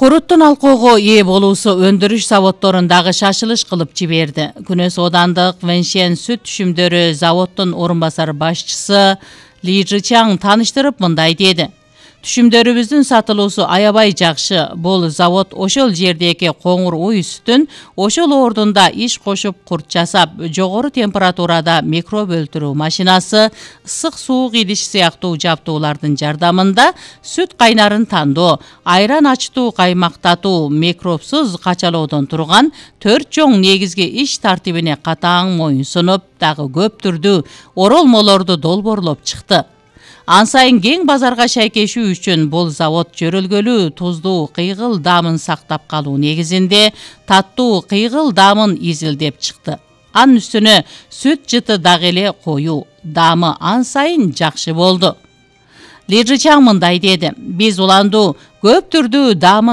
Куруттун алкоого ээ болуусу өндүрүш заводдорундагы шашылыш кылып жиберди. Күнөс оодандык Вэньшэн сүт түшүмдөрү заводдун орун басар башчысы Ли Жичаң тааныштырып мындай деди. Түшүмдөрүбүздүн сатылуусу аябай жакшы. Бул завод ошол жердеги коңур уй сүтүн ошол ордунда иш кошуп курт жасап, жогору температурада микроб өлтүрүү машинасы, ысык суук идиш сыяктуу жабдуулардын жардамында сүт кайнарын тандоо, айран ачтуу каймактатуу, микробсуз качалоодон турган 4 чоң негизги иш тартибине катаң моюнсунуп, дагы көп түрдүү оролмолорду долбоорлоп чыкты. Ан сайын кең базарга шайкешүү үчүн бул завод жөрөлгөлүү туздуу кыйгыл даамын сактап калуу негизинде таттуу кыйгыл даамын изилдеп чыкты. Анын үстүнө сүт жыты дагы эле коюу, даамы ан сайын жакшы болду. Ли Жичаң мындай деди. Биз уландуу көп түрдүү даамын